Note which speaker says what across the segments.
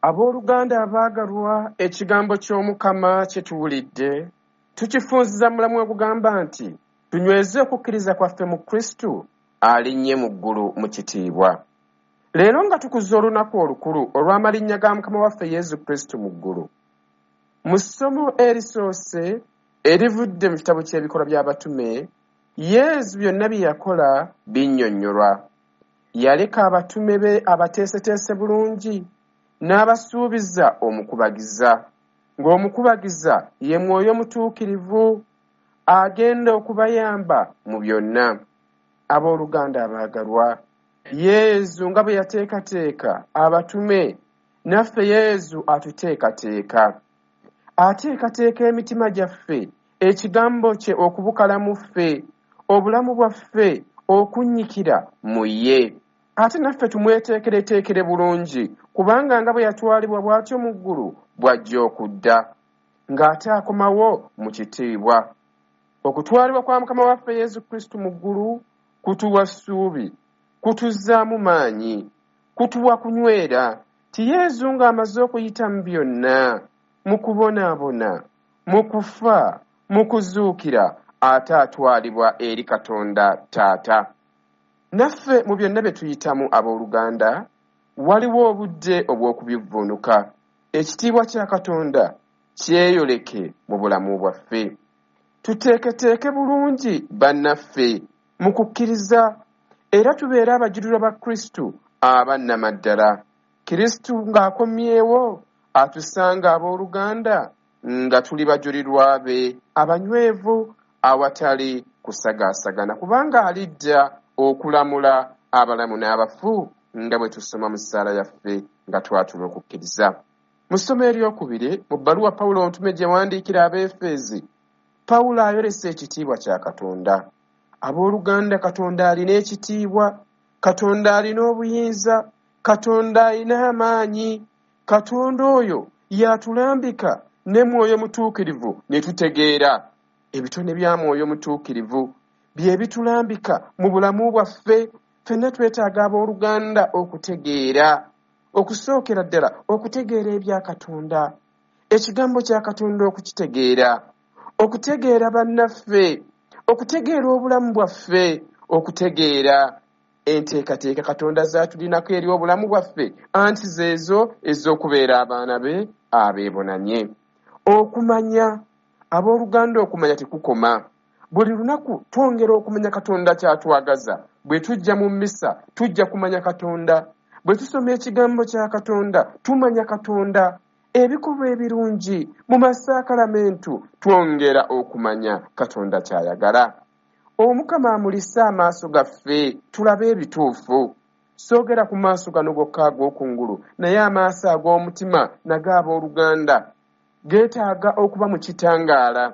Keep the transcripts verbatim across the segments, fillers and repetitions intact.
Speaker 1: Abooluganda abaagalwa, ekigambo ky'Omukama kye tuwulidde tukifunziza mulamu ogugamba nti tunyweze okukkiriza kwaffe mu Kristo alinnye mu ggulu mu kitiibwa. Leero nga tukuza olunaku olukulu olw'amalinnya ga Mukama waffe Yesu Kristo mu ggulu, mu ssomo erisoose erivudde mu kitabo ky'Ebikolwa by'Abatume, Yesu byonna bye yakola binnyonnyolwa. Yaleka abatume be abateeseteese bulungi n'abasuubiza omukubagiza, ng'omukubagiza ye Mwoyo Mutuukirivu agenda okubayamba mu byonna. Abooluganda abaagalwa, Yesu nga bwe yateekateeka abatume, naffe Yesu atuteekateeka. Ateekateeka emitima gyaffe, ekigambo kye okubukala mu ffe, obulamu bwaffe okunnyikira mu ye. Ate naffe tumweteekereteekere bulungi, kubanga nga bwe yatwalibwa bw'atyo mu ggulu, bw'ajja okudda, ng'ate akomawo mu kitiibwa. Okutwalibwa kwa Mukama waffe Yesu Kristo mu ggulu kutuwa ssuubi, kutuzzaamu maanyi, kutuwa kunywera, ti Yesu ng'amaze okuyita mu byonna, mu kubonaabona, mu kufa, mu kuzuukira, ate atwalibwa eri Katonda Taata. Naffe mu byonna bye tuyitamu abooluganda, waliwo obudde obw'okubivvuunuka. Ekitiibwa kya Katonda kyeyoleke mu bulamu bwaffe. Tuteeketeeke bulungi bannaffe mu kukkiriza, era tubeere abajulirwa ba Kristo abannamaddala. Kristo ng'akomyewo atusanga abooluganda nga tuli bajulirwa be abanywevu awatali kusagaasagana, kubanga alidda okulamula abalamu n'abafu nga bwe tusoma mu ssaala yaffe nga twatula okukkiriza. Mu ssomo eryokubiri, mu bbaluwa Pawulo omutume gye yawandiikira Abeefeezi, Pawulo ayolesa ekitiibwa kya Katonda. Abooluganda, Katonda alina ekitiibwa, Katonda alina obuyinza, Katonda alina amaanyi. Katonda oyo y'atulambika ne Mwoyo Mutuukirivu ne tutegeera. Ebitone bya Mwoyo Mutuukirivu bye bitulambika mu bulamu bwaffe. Ffenna twetaaga abooluganda okutegeera, okusookera ddala okutegeera ebya Katonda, ekigambo kya Katonda okukitegeera, okutegeera bannaffe, okutegeera obulamu bwaffe, okutegeera enteekateeka Katonda z'atulinako eri obulamu bwaffe, anti zeezo ez'okubeera abaana be abeebonanye. Okumanya, abooluganda, okumanya tekukoma. Buli lunaku twongera okumanya Katonda ky'atwagaza. Bwe tujja mu mmisa tujja kumanya Katonda, bwe tusoma ekigambo kya Katonda tumanya Katonda. Ebikolwa ebirungi mu masakalamentu twongera okumanya Katonda ky'ayagala. Omukama amulise amaaso gaffe tulabe ebituufu. Soogera ku maaso gano gokka ag'okungulu, naye amaaso ag'omutima nago abooluganda geetaaga okuba mu kitangaala.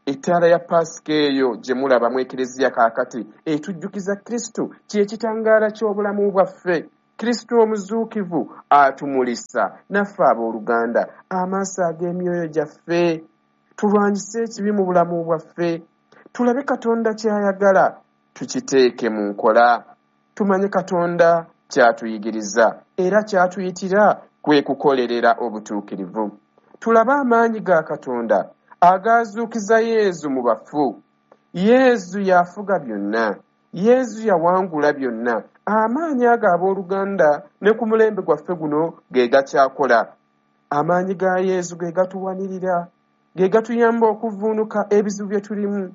Speaker 1: Ettaala ya Paasika eyo gye mulaba mu Ekereziya kaakati etujjukiza Kristo kye kitangaala ky'obulamu bwaffe. Kristo omuzuukivu atumulisa naffe abooluganda amaaso ag'emyoyo gyaffe, tulwanyise ekibi mu bulamu bwaffe, tulabe Katonda ky'ayagala tukiteeke mu nkola, tumanye Katonda ky'atuyigiriza era ky'atuyitira kwe kukolerera obutuukirivu. Tulabe amaanyi ga Katonda agaazuukiza Yesu mu bafu. Yesu yafuga byonna, Yesu yawangula byonna. Amaanyi ago abooluganda ne ku mulembe gwaffe guno ge gakyakola. Amaanyi ga Yesu ge gatuwanirira, ge gatuyamba okuvvuunuka ebizibu bye tulimu,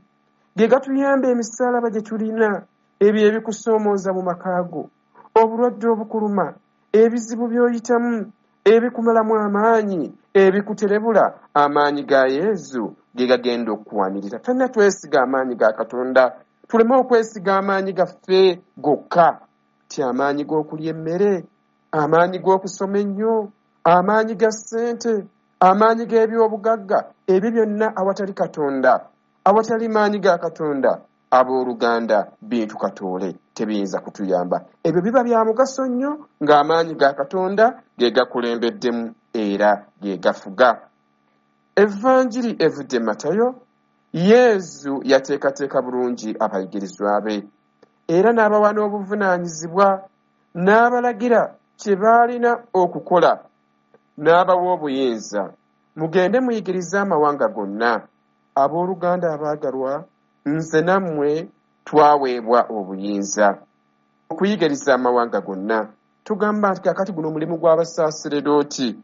Speaker 1: ge gatuyamba emisaalaba gye tulina, ebyo ebikusoomooza mu maka go, obulwadde obukuluma, ebizibu by'oyitamu, ebikumalamu amaanyi, ebikuterebula. Amaanyi ga Yesu ge gagenda okukuwanirira. Ffenna twesiga amaanyi ga Katonda, tuleme okwesiga amaanyi gaffe gokka, ti amaanyi g'okulya emmere, amaanyi g'okusoma ennyo, amaanyi ga ssente, amaanyi g'ebyobugagga, ebyo byonna awatali Katonda, awatali maanyi ga Katonda, abooluganda bintu katoole tebiyinza kutuyamba. Ebyo biba bya mugaso nnyo ng'amaanyi ga Katonda ge gakulembeddemu era ge gafuga. Evanjiri evudde Matayo, Yesu yateekateeka bulungi abayigirizwa be era n'abawa n'obuvunaanyizibwa, n'abalagira kye baalina okukola. n'abawa obuyinza. Mugende muyigirize amawanga gonna. Abooluganda abaagalwa, nze nammwe twaweebwa obuyinza okuyigiriza amawanga gonna. Tugamba nti kaakati guno mulimu gw'abasaaseredooti,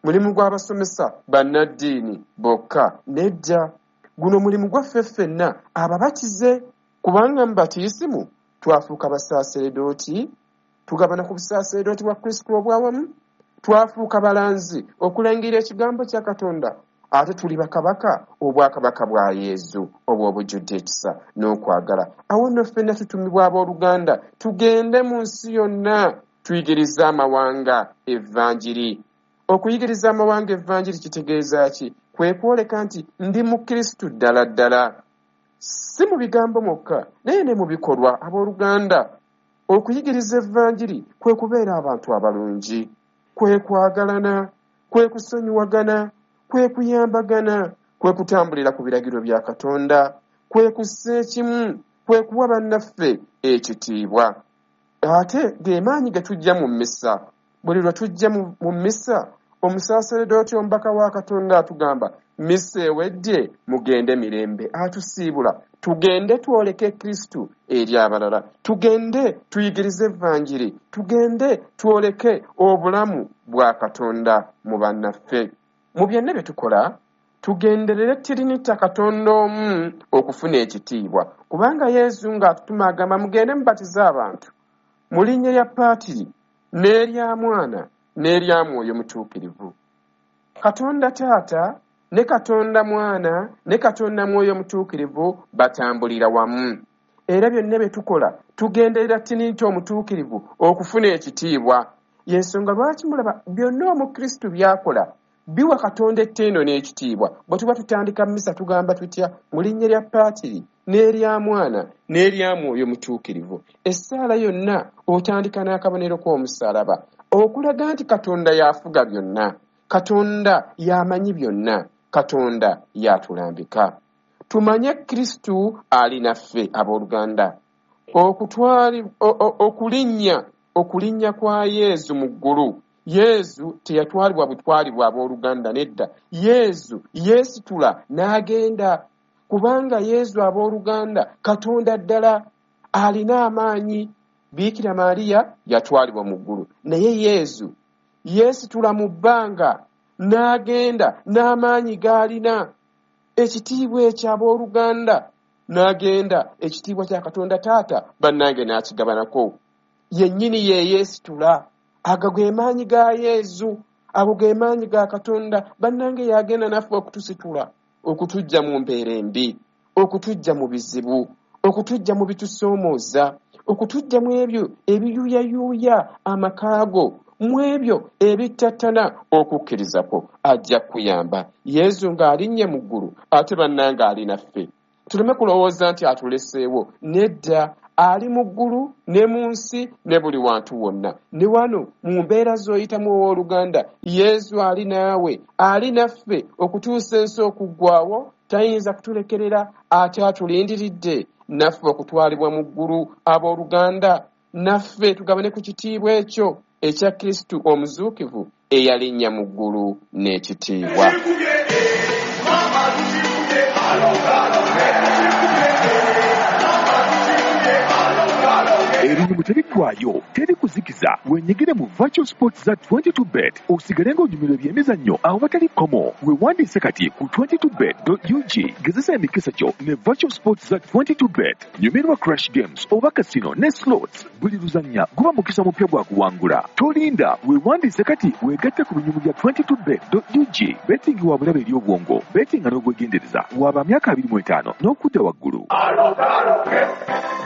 Speaker 1: mulimu gw'abasomesa bannaddiini bokka. Nedda, guno mulimu gwaffe ffenna ababatize, kubanga mu batiisimu twafuuka basaaseredooti, tugabana ku busaaseredooti bwa Kristo obwawamu, twafuuka balanzi okulangira ekigambo kya Katonda, ate tuli bakabaka obwakabaka bwa Yezu obw'obujjudde ekisa n'okwagala. Awo nno ffenna tutumibwa abooluganda tugende mu nsi yonna tuyigirize amawanga evvanjiri. Okuyigiriza amawanga evvanjiri kitegeeza ki? Kwe kwoleka nti ndi Mukristu ddala ddala, si mu bigambo mwokka naye ne mu bikolwa. Abooluganda, okuyigiriza evvanjiri kwe kubeera abantu abalungi, kwe kwagalana, kwe kusonyiwagana, kwe kuyambagana, kwe kutambulira ku biragiro bya Katonda, kwe kussa ekimu, kwe kuwa bannaffe ekitiibwa. Ate ge maanyi ge tujja mu mmisa. Buli lwe tujja mu mmisa, omusaaseredooti omubaka wa Katonda atugamba, mmisa ewedde, mugende mirembe. Atusiibula tugende twoleke Kristu eri abalala, tugende tuyigirize evvanjiri, tugende twoleke obulamu bwa Katonda mu bannaffe. Mu byonna bye tukola tugenderere tirinita Katonda omu okufuna ekitiibwa, kubanga Yesu ng'atutuma agamba mugende mubatize abantu mu linnya lya Paatiri n'erya Mwana n'erya Mwoyo Mutuukirivu. Katonda Taata ne Katonda Mwana ne Katonda Mwoyo Mutuukirivu batambulira wamu, era byonna bye tukola tugenderera tirinita omutuukirivu okufuna ekitiibwa. Y'ensonga lwaki mulaba byonna Omukristu by'akola biwa Katonda ettendo n'ekitiibwa. Bwe tuba tutandika mmisa tugamba tutya? Mu linnya lya Paatiri n'erya Mwana n'erya Mwoyo Mutuukirivu. Essaala yonna otandika n'akabonero k'omusaalaba okulaga nti Katonda y'afuga byonna, Katonda y'amanyi byonna, Katonda y'atulambika. Tumanye Kristu ali naffe abooluganda. Okutwali okulinnya okulinnya kwa Yezu mu ggulu. Yezu teyatwalibwa butwalibwa abooluganda, nedda. Yezu yeesitula n'agenda, kubanga Yezu abooluganda Katonda ddala alina amaanyi. Biikira Maria yatwalibwa mu ggulu, naye Yezu yeesitula mu bbanga n'agenda n'amaanyi g'alina. Ekitiibwa ekyo abooluganda n'agenda, ekitiibwa kya Katonda Taata bannange n'akigabanako. Yennyini ye yeesitula. Ago ge maanyi ga Yezu, ago ge maanyi ga Katonda. Bannange yagenda naffe okutusitula, okutuggya mu mbeera embi, okutuggya mu bizibu, okutuggya mu bitusoomooza, okutuggya mu ebyo ebiyuuyayuuya amaka go, mu ebyo ebittattana okukkiriza kwo. Ajja kuyamba. Yezu ng'alinnye mu ggulu, ate bannange ali naffe. Tuleme kulowooza nti atuleseewo. Nedda, ali mu ggulu ne mu nsi ne buli wantu wonna. Ne wano mu mbeera z'oyitamu owooluganda, Yezu ali naawe, ali naffe okutuusa ensi okuggwaawo. Tayinza kutulekerera, ate atulindiridde naffe okutwalibwa mu ggulu. Abooluganda, naffe tugabane ku kitiibwa ekyo ekya Kristu omuzuukivu eyalinnya mu ggulu n'ekitiibwa.
Speaker 2: Ebinyumu tebiggwaayo, teri kuzikiza. Wenyigire mu Virtual Sports za twenty-two bet osigale ng'onyumirwa ebyemizannyo awatali kkomo. Weewandiise kati ku twenty-two bet dot U G. Gezesa emikisa gyo ne Virtual Sports za twenty-two bet. Nyumirwa Crash Games oba casino ne slots. Buli luzannya guba mukisa mupya gwa kuwangula. Tolinda, weewandiise kati weegatte ku binyumu bya twenty-two bet dot U G. Betting wa bulabe eri obwongo, betting n'obwegendereza. Waba myaka abiri mu etaano n'okudda waggulu.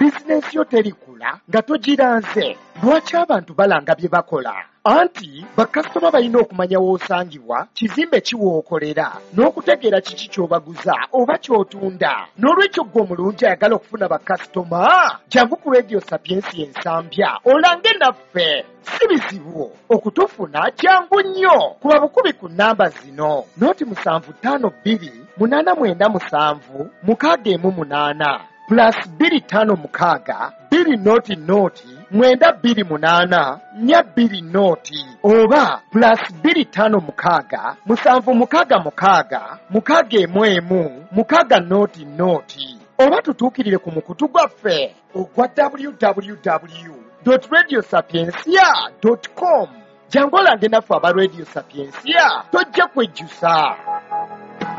Speaker 3: Bizinensi yo terikula nga togiranze. Lwaki abantu balanga bye bakola? Anti bakasitoma balina okumanya w'osangibwa, kizimbe ki w'okolera, n'okutegeera kiki ky'obaguza oba ky'otunda. N'olwekyo ggwe omulungi ayagala okufuna bakasitoma, jangu ku Radio Sapiensia Ensambya olange naffe. Si bizibu okutufuna, kyangu nnyo. Kuba bukubi ku nnamba zino: noti musanvu ttaano bbiri munaana mwenda musanvu mukaaga emu munaana plus bbiri ttaano mukaaga bbiri noti noti mwenda bbiri munaana nnya bbiri nooti oba plus bbiri ttaano mukaaga musanvu mukaaga mukaaga mukaaga emu emu mukaaga nooti nooti oba tutuukirire ku mukutu gwaffe ogwa w w w dot radio sapientia dot com. Jangu olange naffe aba Radio Sapientia, tojja kwejjusa.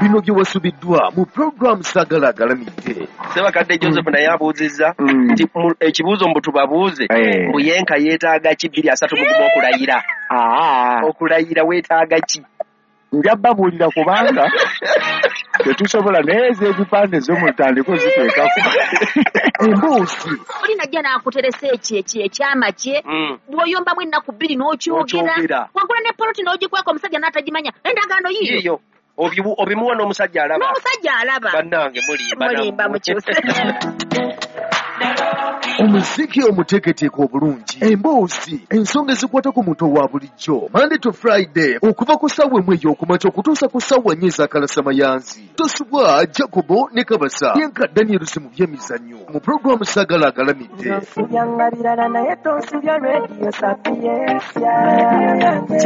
Speaker 2: Bino bye wasubiddwa mu program Sagala Agalamidde.
Speaker 4: Ssebakadde Joseph naye abuuzizza nti ekibuuzo mbu tubabuuze mbu yenka yeetaaga ki bbiri asatu mu gumu okulayira. Okulayira weetaaga ki?
Speaker 5: Nja babuulira kubanga tetusobola naye ez'ebipande zo mutandike ziteekako.
Speaker 3: Embuuzi.
Speaker 6: Oli najja n'akuteresa ekyo ekyo ekyama kye bw'oyombamu ennaku bbiri n'okyogera. Wagula ne poloti n'ogikweka omusajja n'atagimanya endagaano yiyo.
Speaker 4: Obimuwa n'omusajja alaba.
Speaker 6: N'omusajja alaba.
Speaker 4: Bannange mulimba.
Speaker 6: Mulimba mukyuse.
Speaker 2: Omuziki omuteeketeeke obulungi, emboozi, ensonga ezikwata ku muntu owa bulijjo, Monday to Friday, okuva ku ssaawa emu ey'okumakya okutuusa ku ssaawa nnya ez'akalasamayanzi. Tosubwa Jacobo ne Kabasa, Yenka Daniels mu by'emizannyo, mu pulogulaamu Sagala Agalamidde.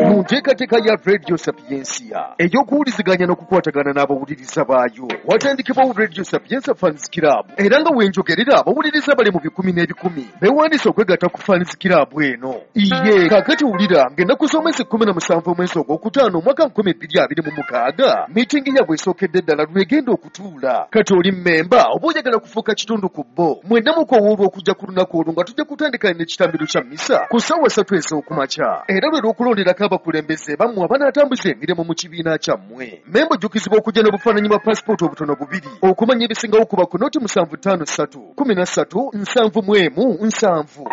Speaker 2: Mu nteekateeka ya Radio Sapientia ey'okuwuliziganya n'okukwatagana n'abawuliriza baayo, watandikibwawo Radio Sapientia Fans Club, era nga wenjogerera abawuliriza bali mu bikumi n'ebikumi beewandiise okwegatta ku Fans Club eno. Iye kaakati wulira ng'ennaku z'omwezi kkumi na musanvu omwezi ogwokutaano omwaka nkumi bbiri abiri mu mukaaga miitingi yaabwe esookedde ddala lwegenda okutuula. Kati oli mmemba oba oyagala kufuuka kitundu ku bo, mwenna mukowoolwa okujja ku lunaku olwo nga tujja kutandika n'ekitambiro kya mmisa ku ssaawa ssatu ez'okumakya, era lwe lw'okulonderako abakulembeze bammwe abanaatambuza emirimu mu kibiina kyammwe. Mmemba ojjukizibwa okujja n'obufaananyi bwa paasipooti obutono bubiri okumanya ebisingawo kuba ku nooti musanvu ttaano ssatu kumi na ssatu nsanvu mu emu nsanvu.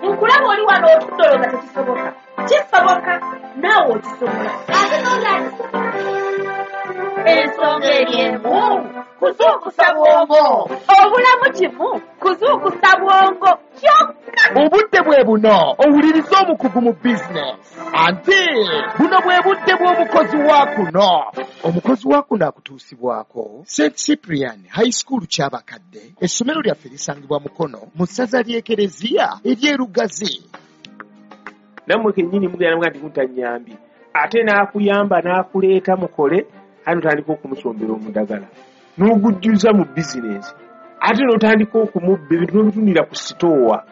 Speaker 6: Nkulaba oli wano otudde olowooza tekisoboka. Kisoboka naawe okisobola. Ate n'oli akisobola. Ensonga eri emu kuzuukusa bwongo. Obulamu kimu kuzuukusa bwongo kyokka.
Speaker 3: Obudde bwe buno owuliriza omukugu mu bizinesi. Ante buno bwe budde bw'omukozi wa kuno. Omukozi wa kuno akutuusibwako Saint Cyprian High School Kyabakadde. Essomero lyaffe lisangibwa Mukono mu ssaza ly'Ekereziya ery'e Lugazi.
Speaker 1: Nammwe kennyini mugenda muga nti mutanyambye, ate n'akuyamba n'akuleeta mukole, ate n'otandika okumusombera omudagala n'ogujjuza mu bizinesi, ate n'otandika okumubba ebintu n'obitunira ku sitoowa,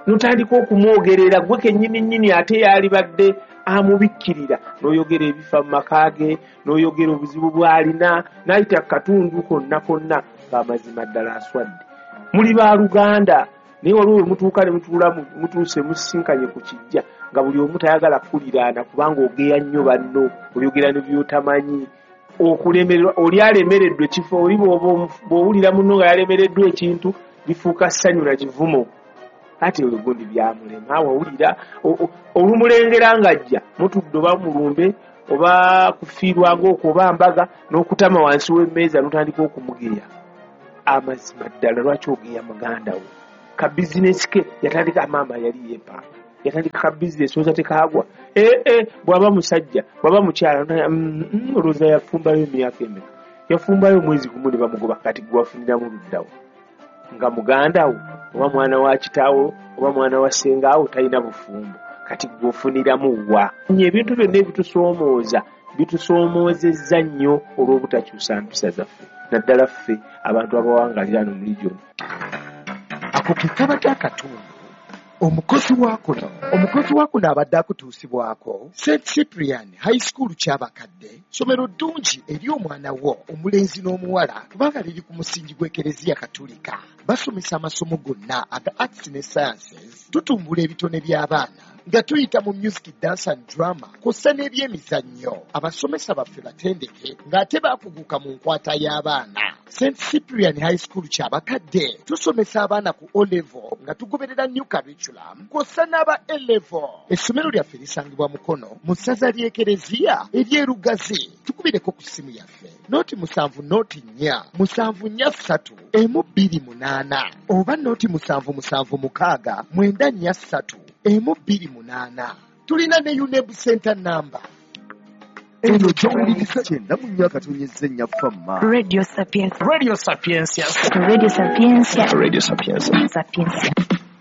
Speaker 1: n'otandika okumwogerera gwe kennyini nnyini ate yalibadde amubikkirira, n'oyogera ebifa mu maka ge, n'oyogera obuzibu bw'alina, n'ayita ku katundu konna konna ng'amazima ddala aswadde. Muli baaluganda naye waliwo we mutuuka ne mutuula mutuuse musisinkanye ku kijja nga buli omu tayagala kukuliraana kubanga ogeya nnyo banno, oyogera ne by'otamanyi. Okulemererwa oli alemereddwa ekifo oli bw'owulira munno nga yalemereddwa ekintu lifuuka ssanyu na kivumo. Ate oyo gundi byamulema wawulira olumulengera ng'ajja mutudde oba mulumbe oba kufiirwa ng'okwo oba mbaga n'okutama wansi w'emmeeza n'otandika okumugeya. Amazima ddala lwaki ogeya muganda wo? Ka bizinesi ke yatandika maama yali yeepanga yatandika ka bizinesi oza tekaagwa ee ee bw'aba musajja bw'aba mukyala olowooza yafumbayo emyaka emeka yafumbayo omwezi gumu ne bamugoba kati gwe wafuniramu luddawo nga muganda wo oba mwana wa kitaawo oba mwana wa ssengaawo talina bufumbo kati gwe ofuniramu wa? Ebintu byonna ebitusoomooza bitusoomoozezza nnyo olw'obutakyusa mpisa zaffe naddala ffe abantu abawangalira no mu region.
Speaker 3: Ako ke kabadde akatundu. Omukozi wa kuno omukozi wa kuno abadde akutuusibwako Saint Cyprian High School Kyabakadde, ssomero ddungi eri omwana wo omulenzi n'omuwala kubanga liri ku musingi gw'Ekereziya Katulika. Basomesa amasomo gonna aga arts ne sciences, tutumbula ebitone by'abaana nga tuyita mu music, dance and drama kw'ossa n'ebyemizannyo. Abasomesa baffe batendeke ng'ate baakuguka mu nkwata y'abaana. Saint Cyprian High School Kyabakadde tusomesa abaana ku O level nga tugoberera new curriculum kw'ossa n'aba A level. Essomero lyaffe lisangibwa Mukono mu ssaza ly'Ekereziya ery'e Lugazi. Tukubireko ku ssimu yaffe nooti musanvu nooti nnya musanvu nnya ssatu emu bbiri munaana oba nooti musanvu musanvu mukaaga mwenda nnya ssatu emu bbiri munaana. Tulina ne UNEB Center number.
Speaker 7: Eno gy'owuliriza kyenda mu nnya akatonyezza ennya Fama.
Speaker 8: Radio Sapienza.
Speaker 9: Radio Sapienza.
Speaker 8: Radio Sapienza.
Speaker 9: Radio Sapienza.
Speaker 8: Sapienza.